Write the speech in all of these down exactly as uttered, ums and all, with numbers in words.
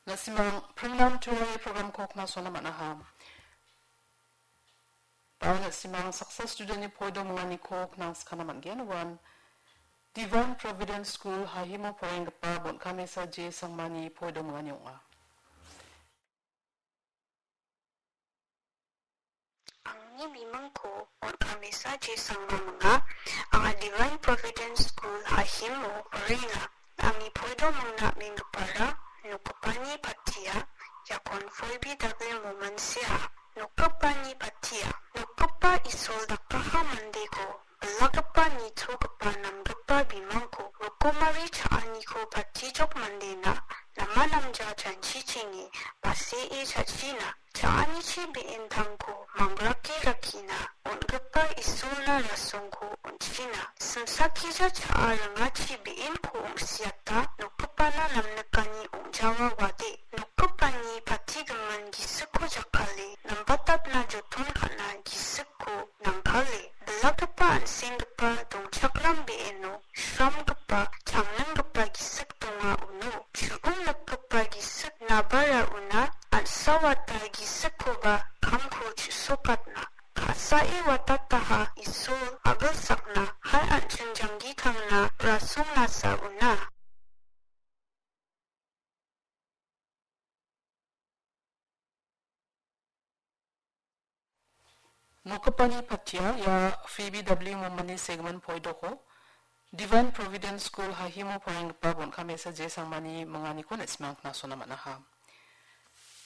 Na·simang Pringnam Turai programko knasona man·aha. Ba na·simang saksa studentni poido minganiko knangskana man·gen. Uan Divine Providence School Hahimo poraienggipa Bonkamesa J Sangmani poido mingani ong·a. Angni bimingko Bonkamesa J Sangma minga. Anga Divine Providence School Hahimo poraenga. Angni poido mingna am·enggipara nokgipani patia, iakon Phoebe Dagli Moman sea. Nokgipani patia, nokgipa Isol dakaha mandeko, bilakgipa nitogipa namgipa bimangko, rokomari cha·aniko patijok mandena, nama namja janchichenge, basee cha·china, cha·anichi be·entangko mangrake rakkina, on·gipa Isolna rasongko on·china, simsakija cha·a ringachi be·enko ong·siata, nokgipana namnikani ong·jawa wade, nokgipani patigimin gisikko jakkale, nambatatna joton ka·na gisikko nangkale, bilakgipa an·senggipa dongchakram be·eno, sramgipa, changninggipa gisik donga uno, chu·ong nikgipa gisik nabara una, an·sawata gisikkoba kamko chu·sokatna. Ka·sae watataha Isol agilsakna, hai an·ching janggi tangna rasongnasa una. Nokgipani patia ia Phoebe W Momani segimin poidoko Divine Providence School Hahimo poraienggipa Bonkamesa J Sangmani minganiko na·simang knasona man·aha.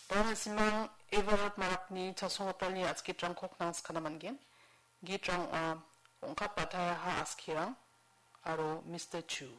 Ba na·simang Everard Marakni chasonggitalni a·skirangko knangskana man·gen. Gitrang ong·a, Ong·kap Bataiaha Askirang aro Mister Chu.